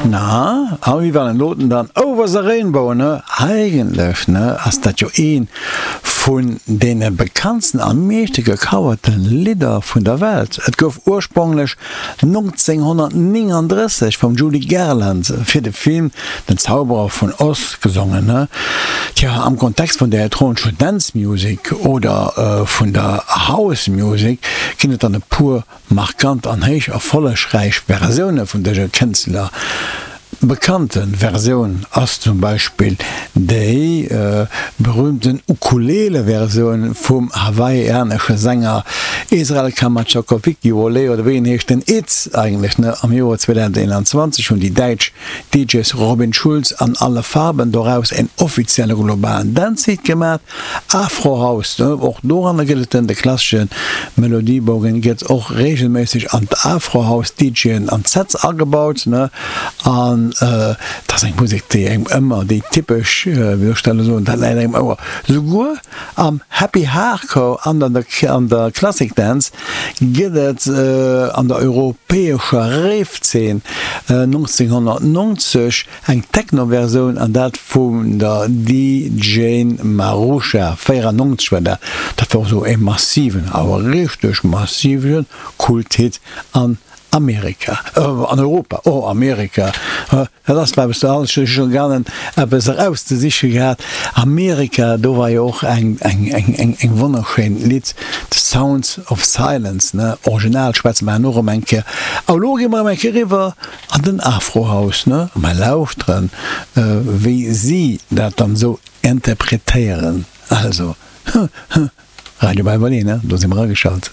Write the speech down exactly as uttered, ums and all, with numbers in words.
Na, a wéi war den doten dann? Over the Rainbow, ne? Eigentlech, ne, ass dat jo ee vun deene bekanntsten a meeschte gecoverte Lidder vun der Welt. Et gouf urspronglech nonzénghonnertnénganddrësseg vum Judy Garland fir de Film Den Zauberer vun Oz gesongen, ne? Tja, am Kontext vun der elektronescher Dance Music oder vun der House Music ginn et dann e puer Markant an héich erfollegräich Versioune vun dëser Kënschtler. Bekannte Versioun ass zum Beispill déi berüümten Ukulele-Versioun vum hawaiianesche Sänger Israel Kamakawiwoʻole, oder wéi en heescht, den Itz eigentlech, ne? Am Joer zweedausendeenanzwanzeg hunn déi däitsch D Js Robin Schulz an Alle Farben doraus en offizielle globalen Dance-Hit gemaat. Afro-House, och doranner gëtt et den, de klassesche Melodiebogen gëtt och reegelméisseg an d'Afro-House-D Jën an d'Sets agebaut, ne, an et ass eng Musek, déi engem ëmmer, déi typesch, wéi soll ech dat elo soen, dat läit engem Ouer. Souguer am Happy Hardcore an an der an der Classic Dance gëtt et an der europäescher Rave-Zeen nonzénghonnertnonzeg eng Techno-Versioun, an dat vun der D J Marusha, véierannonzeg war dat. Dat war och esou e massiven, awer richteg massive Kult-Hit an Amerika, an Europa, oh Amerika, dat ass eppes, do hat ech scho ganen eppes erauszesiche gehat. Amerika, do war jo och eng, eng, eng, eng, eng wonnerschéin Lidd, The Sounds of Silence, ne, original schwätze mer herno erëm eng Kéier. A elo gi mer erëm eng Kéier eriwwer an den Afro-House, ne, a mer lauschteren, wéi si dat dann esou interpretéieren. Also, Radio Baywalé, ne, do si mer ageschalt.